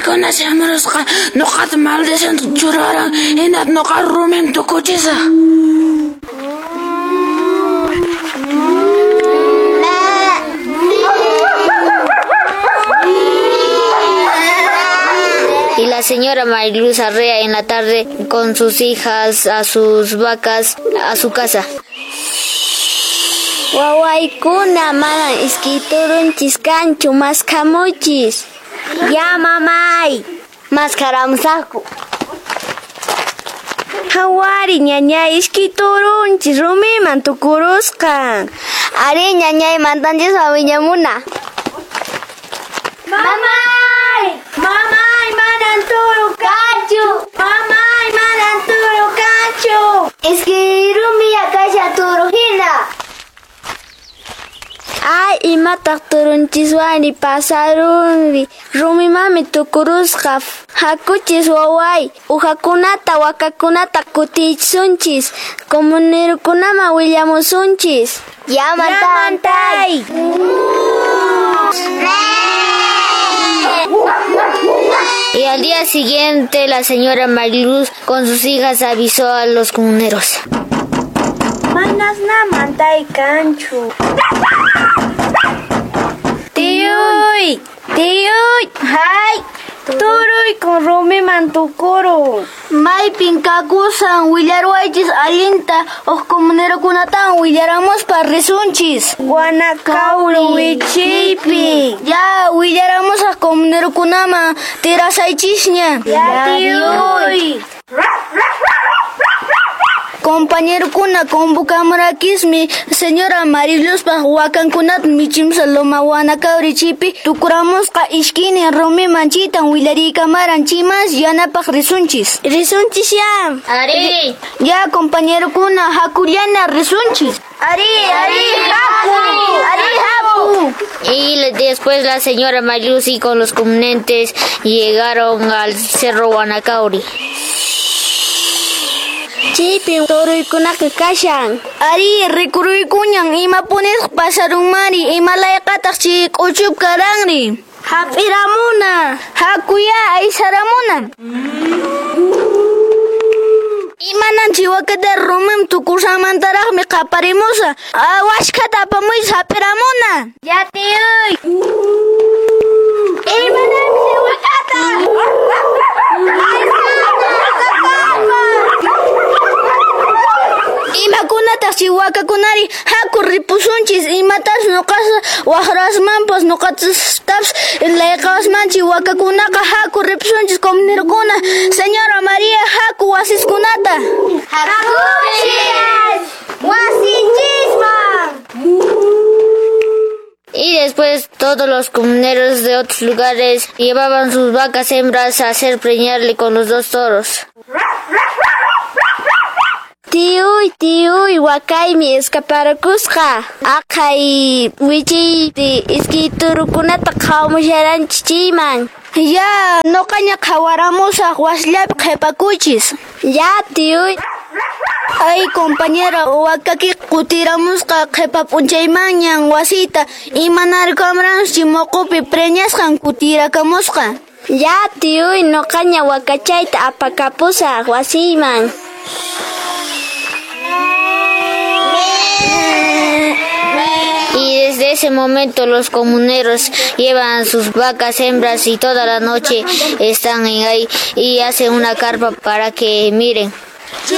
Paykuna shamurusqa noqata maldición churaran, hinata noqa rumim tukuchisaq. Y la señora Mariluz arrea en la tarde con sus hijas a sus vacas a su casa. Wawaykuna manan iskay turunchis kanchu, maskhamuychis. Ya, mamay, maskharamusaqku. Hawari ñañay, iskay turunchis rumiman tukurusqan. Ari ñañay, mantanchisman wiñamuna. Mamay! Mamay, manan turu kanchu! Mamay, manan turu kanchu! Iskay rumi kasha turu hina. Ay, imataq turunchiswani pasarunri, rumimami tukurusqa. Hakuchis waway, uhakunata wakakunata kutichisunchis, comunerukunaman willamusunchis. Ya, mantay. Y al día siguiente la señora Mariluz con sus hijas avisó a los comuneros. Manas na mantay kanchu. Tiyuy, tiyuy, hay, turuy con rumiman tukurun. Maypin kakusan willarwaychis allinta uq comunerokunatan willaramuspa risunchis. Guanacauri wichiypi. Ya willaramusaq comunerokunaman tirasaychisña. Ya, tiyuy. Compañerokuna convocamurakismi señora Mariluspaq wakankunata michimusa Loma Huanacauri chipi tukuramusqa ishkinin rumiman chitan willarikamaran chimas yanapaq risunchis. Risunchis ya. Ari. Ya compañerokuna hakullana risunchis. Ari, ari, haku. Ari, haku. Y después la señora Mariluz y con los comunentes llegaron al cerro Huanacauri. Chaypin turuykunaqa kashan. Ari, rikuruykuñan imapunisqa pasarunmari, imalayqataq chay k'uchup karanri. Hap'iramuna. Hakuya aysaramuna. Imanan chiwakata rumim tukursanmantaraqmi qaparimusa. Washkhata apamuychis hap'iramuna. Ya, tiyuy. Imanan chiwakata. Imakunataq chay wakakunari haku ripusunchis, imatas nuqasa waqrasmanpas nuqatapas layqawasman chay wakakunaqa haku ripusunchis comunerokuna. Señora María, haku wasiskunata. Hakuchis wasinchisman. Y después todos los comuneros de otros lugares llevaban sus vacas hembras a hacer preñarle con los dos toros. Tiyuy, tiyuy, wakaymi escaparakusqa. Aqhay wichiypi iskay turukunata qhawamusharanchis chayman. Ya, nuqaña qhawaramusaq wasillapi qhipakuychis. Ya, tiyuy. Ay, compañera, wakaki kutiramusqa qhipa p'unchaymanñan wasita imanarkamranchis muqupi preñasqan kutirakamusqa. Ya, tiyuy, nuqaña wakachayta apakapusaq wasiyman. Y desde ese momento los comuneros llevan sus vacas hembras y toda la noche están en ahí y hacen una carpa para que miren. ¡Sí!